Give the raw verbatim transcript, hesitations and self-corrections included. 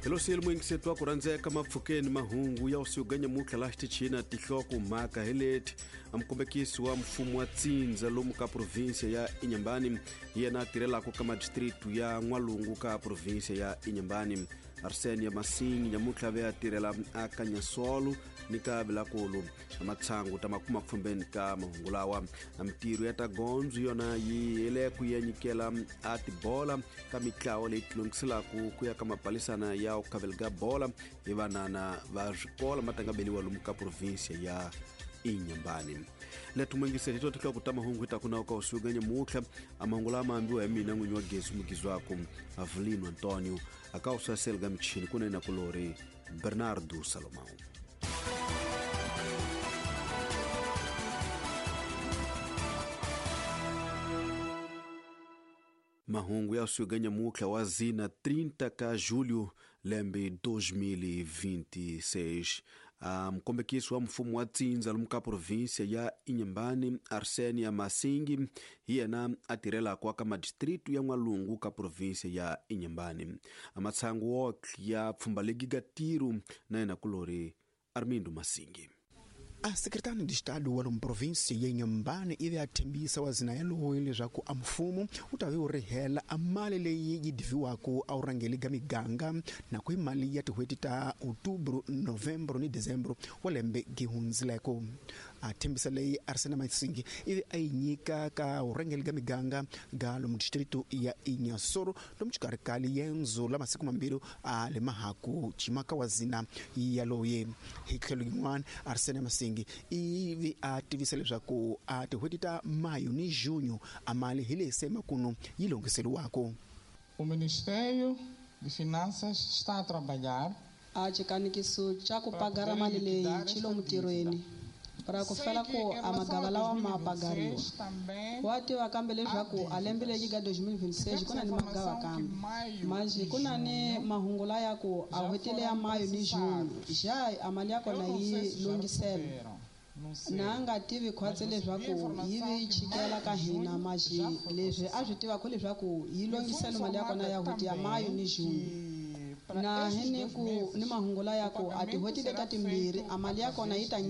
Hello mwingisetu wa ku rhandzeka mapfhukeni mahungu ya usiku nyamuntlha laha xitichini tihloko mhaka hi leti mukombekisi wa mfumo wa Tsindza lomu ka provinsia ya Inhambane hi yena a tirhelaka ka madistritu ya N'walungu ka provinsia ya Inhambane. Arsenia Masingi nyamuntlha ve a tirhela aka Nyasolo ni ka Vilakulu. Matshangu ta makuma pfumbeni ka mahungu lawa. Mitirho ya ta gondzo yona yi hele ku ya nyikela a tibola ka mitlawa leyi tilongiselaka ku ya ka mapalisana ya ku khaveleka bola hi vanana va swikolo ma tanga beliwa lomu ka provinsia ya Inhambane. Letu mwingiseri to tihloko ta mahungu hi ta ku na ka usiku nyamuntlha. Mahungu lama ambiwa hi mina n'winyi wa gezi mugizi wako Avelino Antonio akawusasela ka michini kunene kulori Bernardo Salomão. Mahungu ya usiku nyamuntlha wa zina trinta ka julho lembe dois mil e vinte e seis. Mukombekisi wa mfumo wa Tsindza lomu ka provinsia ya Inhambane Arsenia Masingi hi yena a tirhelaka ka madistritu ya N'walungu ka provinsia ya Inhambane. Matshangu wotlhe ya pfhumba legi ga tiro na yena kulori Armindo Masingi. A secretário de Estado wa lomu província ya Inhambane ivi a thembisa wa zina yaloyi leswaku a mfumo wu ta ve wu rihela a mali leyi yi diviwaka a wu rhangeli ka miganga na ku hi mali ya tin'hweti ta Outubro, Novembro ni Dezembro wa lembe gi hundzileko. A thembisa leyi Arsene Masingi ivi a yi nyika ka vurhangeri ka miganga ga lomu distrito ya Inhassoro lomu xikarhi ka liendzo la masiku mambirhi a le mahaku cimaka wa zina yaloye. Hi tlhelo yin'wana Arsene Masingi ivi a tivisa leswaku a tin'hweti ta Maio ni Junho a mali hi leyi se makuno yi longhiseriwaka. O Ministério de Finanças está a trabalhar a xikanikiso xa ku pagara mali leyi xi lomu ntirhweni para ku fela ku a magava lawa ma pagariwa wa tiva kambe leswaku a lembe leri ka dois mil e vinte e seis ku na ni magava kambe maji ku na ni mahungu laya ku a n'hweti leya Maio ni Junho ja a mali ya kona yi lunghisela na nga tivi khwatsi leswaku yi vi chikela ka hina maji leswi a swi tivaka leswaku yi lunghisela mali ya kona ya n'hweti ya Maio ni Junho na hi ni ku ni mahungu laya ku a tin'hweti leta timbirhi a mali ya kona yi ta